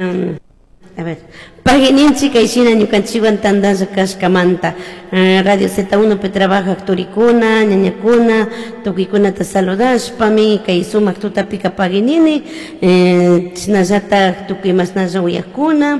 A ver, pagui ninchik kay shina ñukanchikwan tantalla kashkamanta. Radio Z1 pi trabajak turikuna, ñañakuna, tukuykunata saludashpami kay sumak tutapika pagui nini, chashnallatak tukuy mashnalla uyakuna,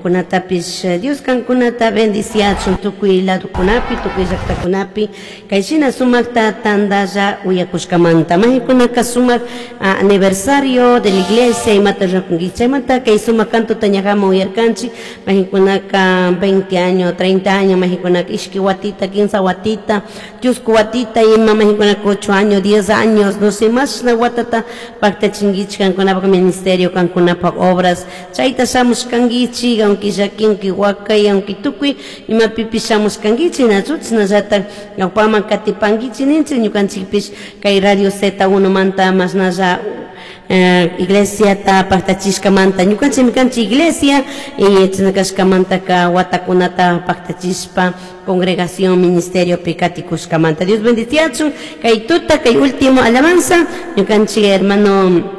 kunatapish Dios kankunata bendiciachun tukuy ladokunapi, tukuy llaktakunapi, kay shina sumakta tantalla uyakushkamanta. Majikunaka sumak aniversario de la iglesia imata rurankichik, chaymanta kay sumak cantota ñajaman uyarkanchik, majikunaka 20 años, 30 años, majikunaka ishki watita, quinsa watita, chusku watita, ima majikunaka 8 años, 10 años, no sé, mashna watata paktachinkichik kankunapak ministerio, kankunapak obras, chayta shamushkankichik, aunque llaki, aunque wakay, aunque tukuy imapipish shamushkankichik, nachu chashnallatak ñawpaman katipankichik ninchik ñukanchikpish kay Radio Z1 manta mashnalla iglesiata paktachishkamanta, ñukanchikmi kanchik iglesia, chashna kashkamantaka watakunata paktachishpa congregación ministeriopi katikushkamanta. Dios bendiciachun kay tuta, kay último alabanza, ñukanchik hermano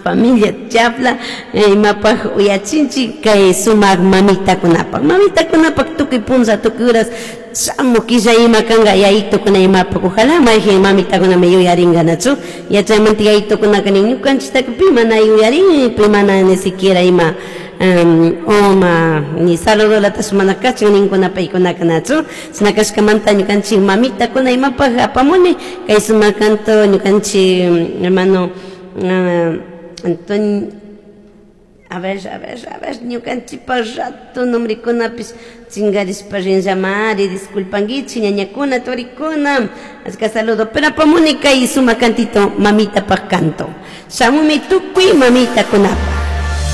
familia Chapla, imapaj uyachinchik kay sumak mamitakunapak, mamitakunapak tukuy punlla, tukuy horas shamu killa ima kanka yaytukuna imapak, ojalá mayjin mamitakunami yuyarinkanachu, yachaymanta yaytukunaka nin ñukanchiktaka pi mana yuyarin, pi mana ni siquiera ima oma ni saludolatash mana kachan ninkuna paykunaka nachu, chashna kashkamanta ñukanchik mamitakuna imapaj apamuni kay sumak canto ñukanchik hermano Antonio, a ver, a ver, a ver, ñukanchikpa rato nombrekunapish chingarishpa rinllamari, disculpankichik ñañakuna, turikuna, achka saludo, pero apamuni kay sumak cantito mamitapak canto, shamumi tukuy mamitakunapaj.